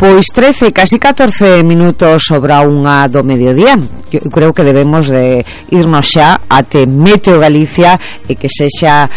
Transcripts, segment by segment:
Pois 13, casi 14 minutos sobra unha do mediodía. Eu creo que debemos de irnos xa até Meteo Galicia e que sexa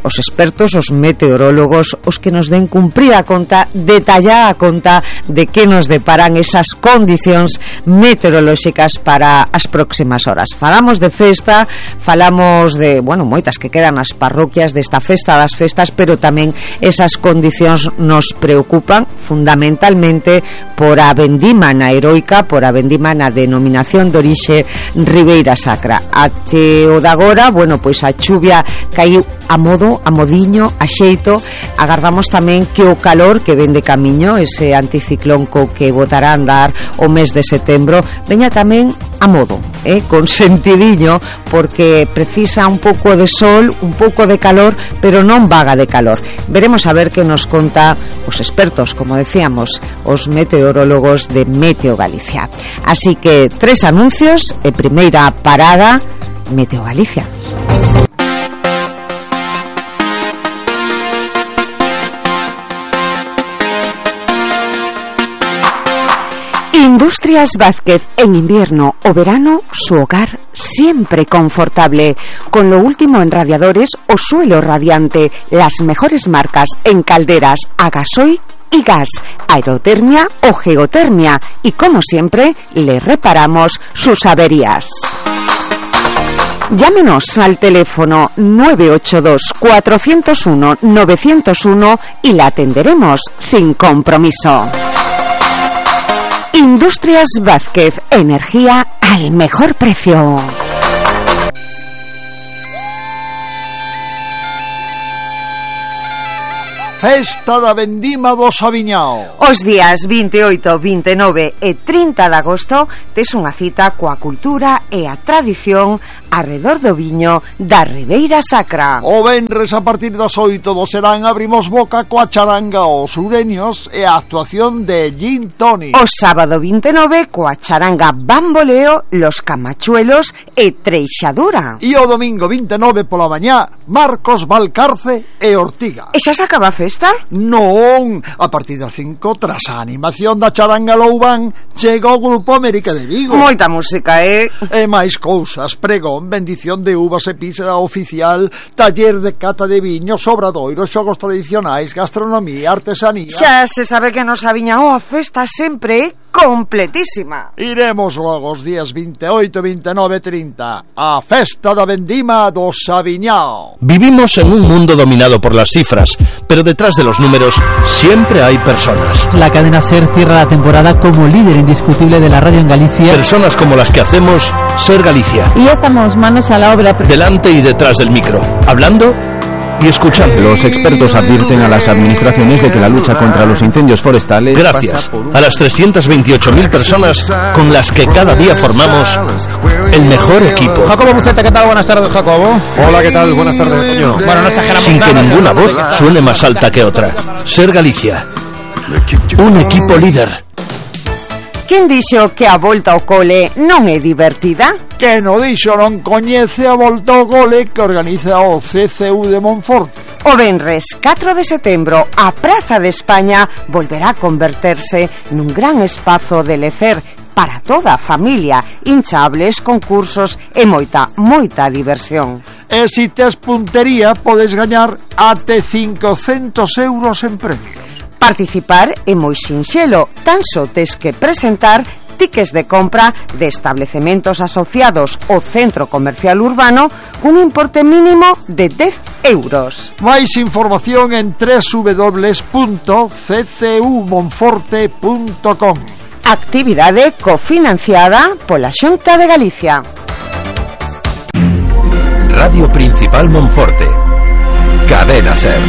os expertos, os meteorólogos, os que nos den cumprida conta, detallada conta de que nos deparan esas condicións meteorolóxicas para as próximas horas. Falamos de festa, falamos de, bueno, moitas que quedan nas parroquias desta festa das festas, pero tamén esas condicións nos preocupan fundamentalmente por a vendima na heroica, por a vendima na denominación de orixe Ribeira Sacra. Até o de agora, bueno, pois a chuvia caiu a modo, a modiño, a xeito. Agardamos tamén que o calor que ven de camiño, ese anticiclón co que botará a andar o mes de setembro, veña tamén a modo, con sentidiño, porque precisa un pouco de sol, un pouco de calor, pero non vaga de calor. Veremos a ver que nos conta os expertos, como decíamos, os meteorólogos de Meteo Galicia. Así que 3 anuncios e primeira parada, Meteo Galicia. Industrias Vázquez, en invierno o verano, su hogar siempre confortable. Con lo último en radiadores o suelo radiante, las mejores marcas en calderas a gasoil y gas, aerotermia o geotermia, y como siempre le reparamos sus averías. Llámenos al teléfono 982 401 901 y la atenderemos sin compromiso. Industrias Vázquez, energía al mejor precio. Festa da Vendima do Saviñao. Os días 28, 29 e 30 de agosto tes unha cita coa cultura e a tradición arredor do viño da Ribeira Sacra. O venres a partir das 8 do serán abrimos boca coa charanga Os Ureños e a actuación de Gin Tonic. O sábado 29 coa charanga Bamboleo, Los Camachuelos e Treixadura. E o domingo 29 pola mañá Marcos Valcarce e Ortiga. E xa se acaba a festa? Non, a partir das 5 tras a animación da charanga Loubán chega o grupo América de Vigo. Moita música, E máis cousas, pregón, bendición de uvas e pizza oficial, taller de cata de viños, obradoiros, xogos tradicionais, gastronomía, artesanía. Xa se sabe que nos Saviñao a festa sempre é completísima. Iremos logo os días 28, 29 e 30 a festa da vendima do Saviñao. Vivimos en un mundo dominado por las cifras, pero detrás de los números siempre hay personas. La cadena SER cierra la temporada como líder indiscutible de la radio en Galicia. Personas como las que hacemos SER Galicia. Y ya estamos manos a la obra. Delante y detrás del micro, hablando y escuchando. Los expertos advierten a las administraciones de que la lucha contra los incendios forestales... Gracias a las 328.000 personas con las que cada día formamos el mejor equipo. Jacobo Buceta, ¿qué tal? Buenas tardes, Jacobo. Hola, ¿qué tal? Buenas tardes, Toño. Bueno, no exageramos. Sin que ninguna voz suene más alta que otra. SER Galicia, un equipo líder. Quen dixo que a volta ao cole non é divertida? Que no dixo non coñece a volta ao cole que organiza o CCU de Monforte. O venres 4 de setembro a Praza de España volverá a converterse nun gran espazo de lecer para toda a familia, hinchables, concursos e moita diversión. E se tes puntería podes gañar até 500 euros en premios. Participar é moi sinxelo, tan só tes que presentar tickets de compra de establecementos asociados ao centro comercial urbano cun importe mínimo de 10 euros. Máis información en www.ccumonforte.com. Actividade cofinanciada pola Xunta de Galicia. Radio Principal Monforte. Cadena SER.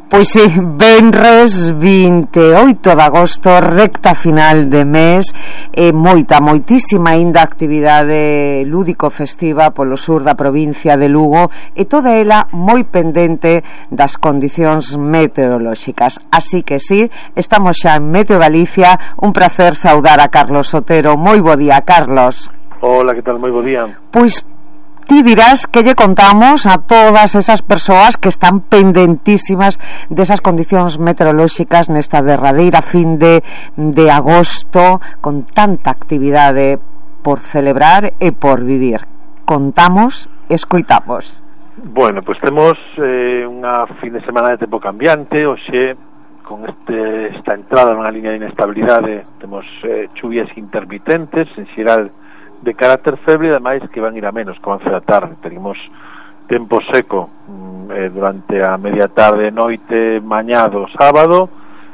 Pois sí, venres 28 de agosto, recta final de mes, e moitísima ainda actividade lúdico-festiva polo sur da provincia de Lugo, e toda ela moi pendente das condicións meteorolóxicas. Así que sí, estamos xa en Meteo Galicia. Un placer saudar a Carlos Otero. Moi bo día, Carlos. Hola, que tal? Moi bo día. Pois ti dirás que lle contamos a todas esas persoas que están pendentísimas desas condicións meteorolóxicas nesta derradeira fin de agosto, con tanta actividade por celebrar e por vivir. Contamos, escoitamos. Bueno, pois temos unha fin de semana de tempo cambiante. Hoxe, con esta entrada nunha liña de inestabilidade, temos chuvias intermitentes, en xeral de carácter feble, e ademais que van ir a menos co avance da tarde. Tenemos tempo seco durante a media tarde, noite, mañá do sábado,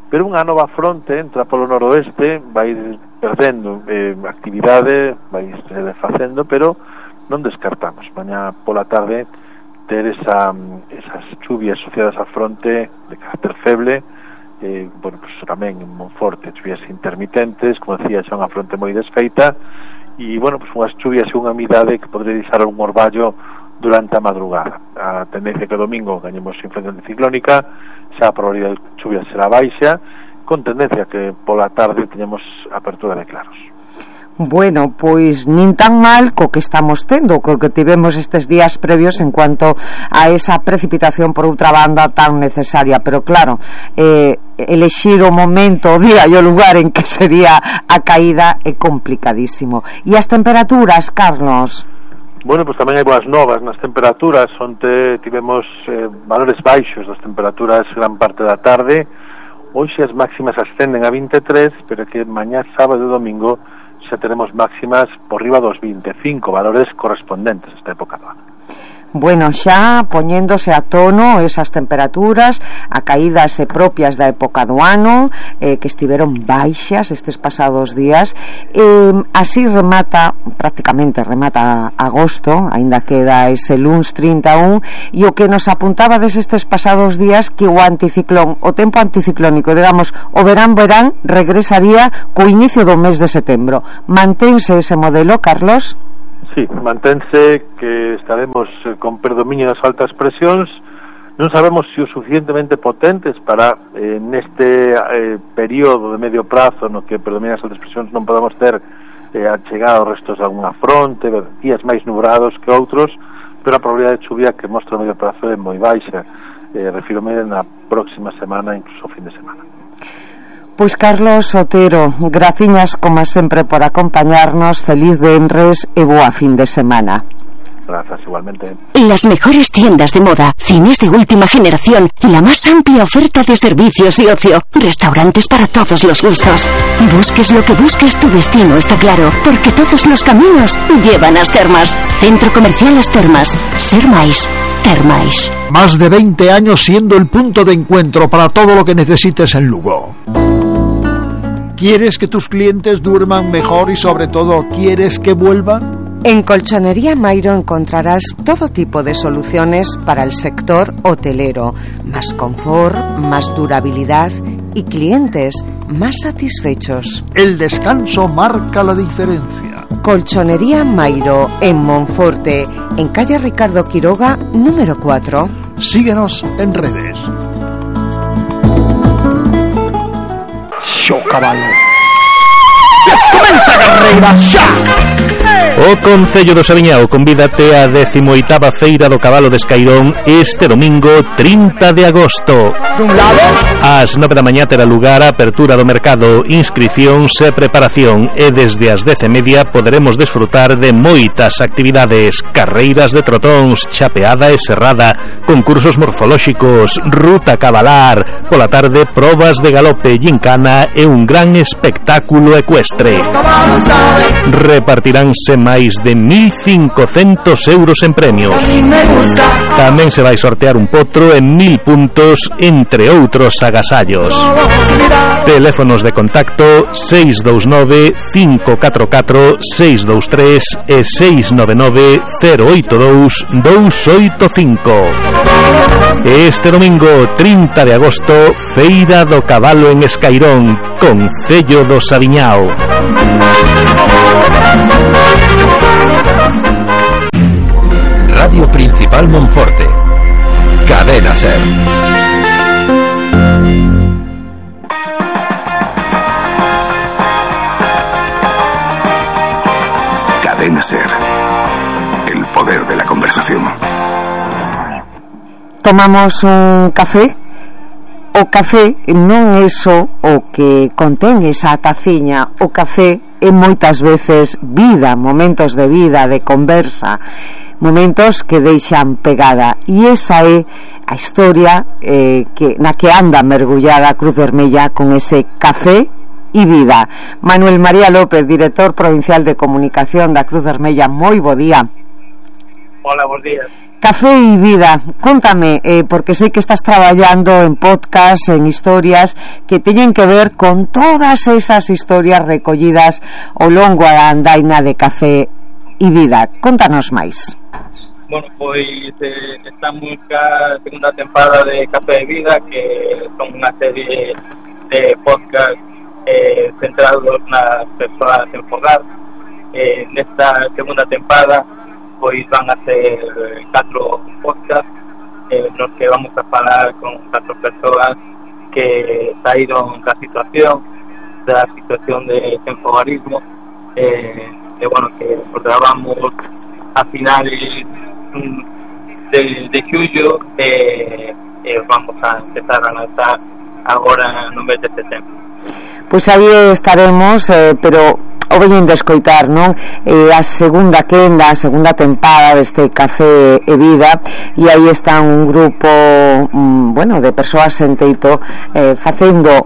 pero unha nova fronte entra polo noroeste, vai perdendo actividade, vai se desfacendo, pero non descartamos mañá pola tarde ter esas chuvias asociadas á fronte de carácter feble. Bueno, pues tamén en Monforte chuvias intermitentes, como decía, xa unha fronte moi desfeita, e, bueno, pues unhas chuvias e unha umidade que podría deixar un orballo durante a madrugada. A tendencia que o domingo gañemos influencia anticiclónica, xa a probabilidade de chuvias será baixa, con tendencia que pola tarde teñemos apertura de claros. Bueno, pois nin tan mal co que estamos tendo, co que tivemos estes días previos en cuanto a esa precipitación por outra banda tan necesaria, pero claro, elexir o momento, o día e o lugar en que sería a caída é complicadísimo. E as temperaturas, Carlos? Bueno, pois tamén hai boas novas nas temperaturas. Onte tivemos valores baixos das temperaturas gran parte da tarde. Hoxe as máximas ascenden a 23, pero que mañá, sábado e domingo xa teremos máximas por riba dos 25, valores correspondentes a esta época do ano. Bueno, xa poñéndose a tono esas temperaturas, a caídas propias da época do ano, que estiveron baixas estes pasados días, así prácticamente remata agosto, aínda queda ese luns 31, e o que nos apuntaba estes pasados días que o anticiclón, o tempo anticiclónico, digamos, o verán regresaría co inicio do mes de setembro. Mantense ese modelo, Carlos? Sí, mantense que estaremos con predominio das altas presións. Non sabemos se o suficientemente potentes para neste período de medio prazo no que predominan as altas presións non podamos ter achegado restos de alguna fronte, días máis nubrados que outros, pero a probabilidade de chuvia que mostra o medio prazo é moi baixa. Refírome na próxima semana, incluso fin de semana. Pois Carlos Otero, graciñas como sempre por acompañarnos, feliz venres e boa fin de semana. Gracias, igualmente. Las mejores tiendas de moda, cines de última generación, la más amplia oferta de servicios y ocio, restaurantes para todos los gustos. Busques lo que busques, tu destino está claro, porque todos los caminos llevan a As Termas. Centro Comercial As Termas. Ser máis. Termais. Más de 20 años siendo el punto de encuentro para todo lo que necesites en Lugo. ¿Quieres que tus clientes duerman mejor y sobre todo quieres que vuelvan? En Colchonería Mairo encontrarás todo tipo de soluciones para el sector hotelero, más confort, más durabilidad y clientes más satisfechos. El descanso marca la diferencia. Colchonería Mairo en Monforte, en calle Ricardo Quiroga, número 4. Síguenos en redes. Xo cabalo. Comeza a carreira xa. O Concello do Saviñao convídate á 18ª Feira do Cabalo de Escairón este domingo 30 de agosto. Ás 9 da mañá terá lugar a apertura do mercado, inscricións e preparación, e desde as 10:30 poderemos desfrutar de moitas actividades: carreiras de trotóns, chapeada e serrada, concursos morfolóxicos, ruta cabalar, pola tarde probas de galope, gincana e un gran espectáculo ecuestre. Repartiránse máis de 1.500 euros en premios. Tamén se vai sortear un potro en 1.000 puntos, entre outros agasallos. Teléfonos de contacto 629 544 623 e 699 082 285. Este domingo 30 de agosto, Feira do Cabalo en Escairón, Concello do Saviñao. Radio Principal Monforte. Cadena Ser. Cadena Ser. El poder de la tomamos un café. O café non é só o que contén esa taciña. O café é moitas veces vida, momentos de vida, de conversa, momentos que deixan pegada, e esa é a historia na que anda mergullada a Cruz Vermella con ese café e vida. Manuel María López, director provincial de comunicación da Cruz Vermella, moi bo día. Hola, bons días. Café e vida, contame, porque sei que estás traballando en podcast, en historias que teñen que ver con todas esas historias recollidas ao longo da andaina de Café e vida. Contanos máis. Bueno, pois estamos ca segunda temporada de Café e Vida, que son unha serie de podcast centrados nas persoas en fogar. Nesta segunda temporada pois van a ser 4 podcasts nos que vamos a falar con 4 persoas que saíron da situación de enfogarismo, bueno, que os grabamos a finales de xullo, vamos a empezar a lanzar agora no mes de setembro. Pois aí estaremos, pero o veñen de escoitar, non? A segunda quenda, a segunda tempada deste Café e Vida, e aí está un grupo bueno, de persoas en teito facendo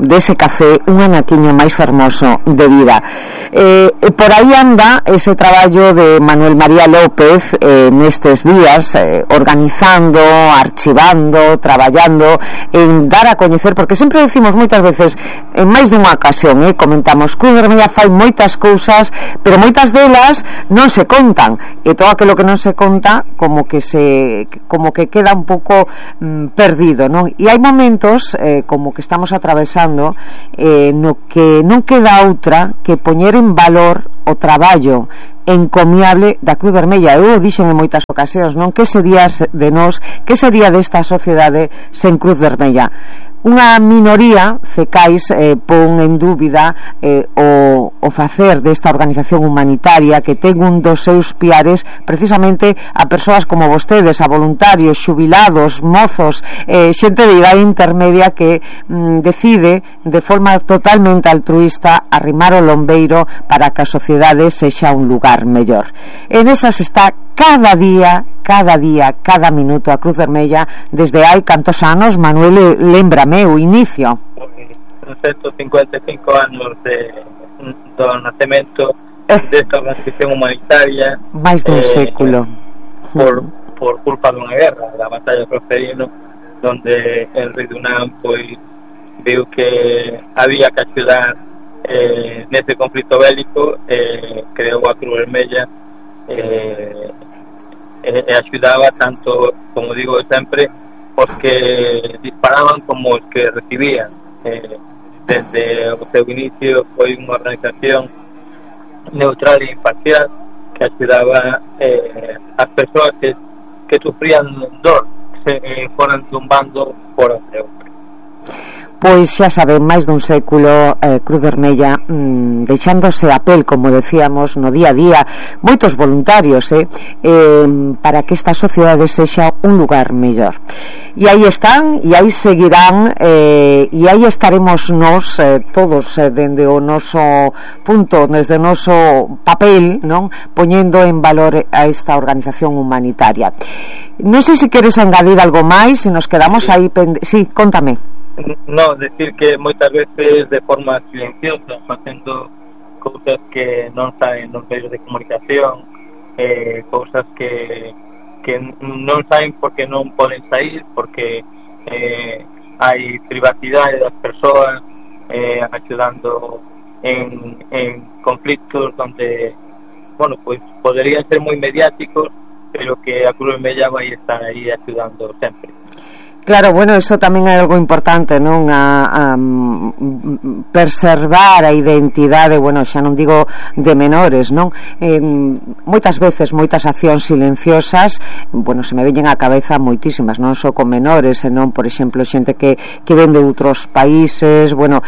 dese café un anaquiño máis fermoso de vida. Por aí anda ese traballo de Manuel María López nestes días, organizando, archivando, traballando en dar a coñecer, porque sempre decimos moitas veces, en máis dunha ocasión, comentamos, Cruz Vermella fai moitas cousas, pero moitas delas non se contan, e todo aquilo que non se conta como que queda un pouco perdido, non? E hai momentos como que estamos atravesando no que non queda outra que poñer en valor o traballo encomiable da Cruz Vermella. Eu o dixen en moitas ocasións, non? Que sería de nós, que sería desta sociedade sen Cruz Vermella? Unha minoría, cecais, pon en dúbida o facer desta organización humanitaria que ten un dos seus piares precisamente a persoas como vostedes, a voluntarios, xubilados, mozos, xente de idade intermedia que decide de forma totalmente altruista arrimar o lombeiro para que a sociedade sexa un lugar mellor. En esas está cada día, cada minuto a Cruz Vermella desde hai cantos anos, Manuel, lémbrame o inicio. 155 anos do nacemento desta organización humanitaria, máis dun século por culpa dunha guerra, da batalla de Prosperino, donde el rei Dunán pois viu que había que axudar nese conflito bélico, creou a Cruz Vermella e axudaba tanto, como digo sempre, os que disparaban como os que recibían. Desde o seu inicio foi unha organización neutral e imparcial que axudaba as persoas que sufrían dor, se foran dun bando fora de outro. Pois xa saben, máis dun século Cruz Vermella deixándose a pel, como decíamos, no día a día, moitos voluntarios para que esta sociedade sexa un lugar mellor. E aí están, e aí seguirán, e aí estaremos nós todos dende o noso punto, desde o noso papel, non, poñendo en valor a esta organización humanitaria. Non sei se queres engadir algo máis, se nos quedamos aí sí, contame. No, decir que moitas veces de forma silenciosa, facendo cousas que non saen nos medios de comunicación, cousas que non saen porque non poden sair, porque hai privacidade das persoas, axudando en conflictos donde, bueno, pues poderían ser moi mediáticos, pero que a Cruz Vermella vai estar aí axudando sempre. Claro, bueno, eso tamén é algo importante, non? A preservar a identidade, bueno, xa non digo de menores, non? Moitas veces, moitas accións silenciosas, bueno, se me veñen á cabeza moitísimas, non só con menores, senón, por exemplo, xente que ven de outros países, bueno,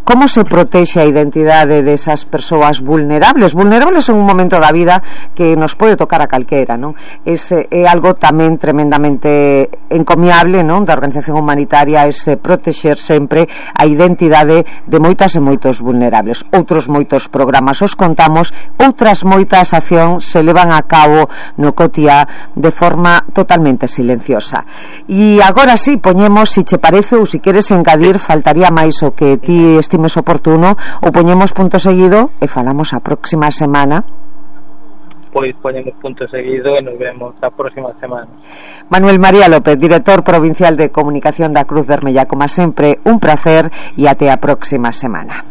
como se protexe a identidade desas persoas vulnerables en un momento da vida que nos pode tocar a calquera, non? É algo tamén tremendamente encomiable, non, da organización humanitaria, protexer sempre a identidade de moitas e moitos vulnerables. Outros moitos programas os contamos, outras moitas accións se levan a cabo no cotiá de forma totalmente silenciosa. E agora sí, poñemos, se che parece ou se queres engadir, faltaría máis o que ti estimes oportuno, ou poñemos punto seguido e falamos a próxima semana. Pois poñemos punto seguido e nos vemos a próxima semana. Manuel María López, director provincial de comunicación da Cruz Vermella, como sempre, un placer e até a próxima semana.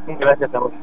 Gracias a vos.